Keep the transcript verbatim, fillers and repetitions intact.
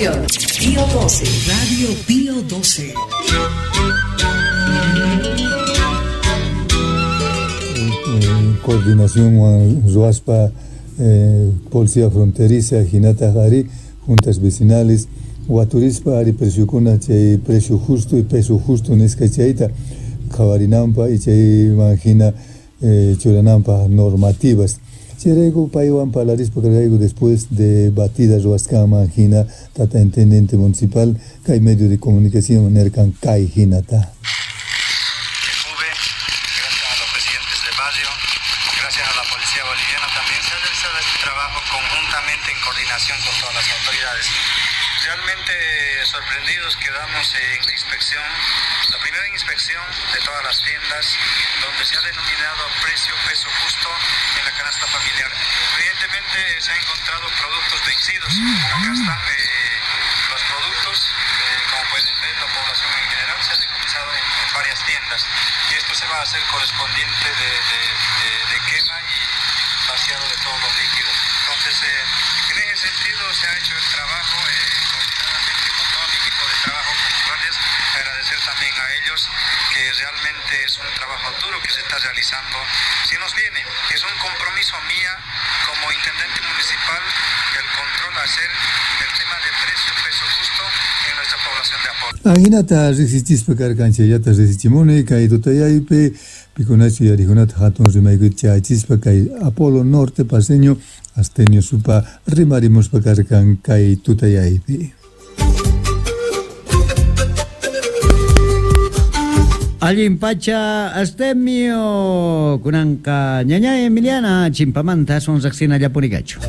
Comunicación. Pío doce, Radio Pío doce. En coordinación con Ruaspa, eh, Policía Fronteriza, Jinata Jari, juntas vecinales, Waturispa, ari preciokuna, chay precio justo y peso justo nisqa chayta qhawarinanpa y chayman hina eh, churananpa normativas. Chayrayku paywan parlarispa karqayku después de batidas ruwasqanman hina tata intendente municipal kay medio de comunicación nerkan kay hinata. Gracias a los presidentes de barrio, gracias a la policía boliviana también se ha realizado este trabajo conjuntamente en coordinación con todas las autoridades. Realmente sorprendidos quedamos en la inspección, la primera inspección de todas las tiendas donde se ha denominado precio peso justo en la canasta familiar. Evidentemente se han encontrado productos vencidos. Acá están eh, los productos, eh, como pueden ver, la población en general se ha decomisado en, en varias tiendas. Y esto se va a hacer correspondiente de, de, de, de quema y vaciado de todos los líquidos. Entonces, eh, en ese sentido se ha hecho el trabajo eh, coordinadamente con todo mi equipo de trabajo, con los guardias. Agradecer también a ellos, que realmente es un trabajo duro que se está realizando. Si nos viene, es un compromiso mía como intendente municipal el control hacer el tema de precio, peso justo en nuestra población de Apolo. Ajinata riqsichispa karkan chayllata riqsichimuni kay tutayaypi pikunachu yarikunata hatun rimaykuyta chayachispa kay Apolo Norte paseño Astenio Supa rimarimuspa karkan kay tutayaypi. Allin pacha Astemio kunanqa ñaña Emiliana chimpamanta aswan riqsina llapunikachu.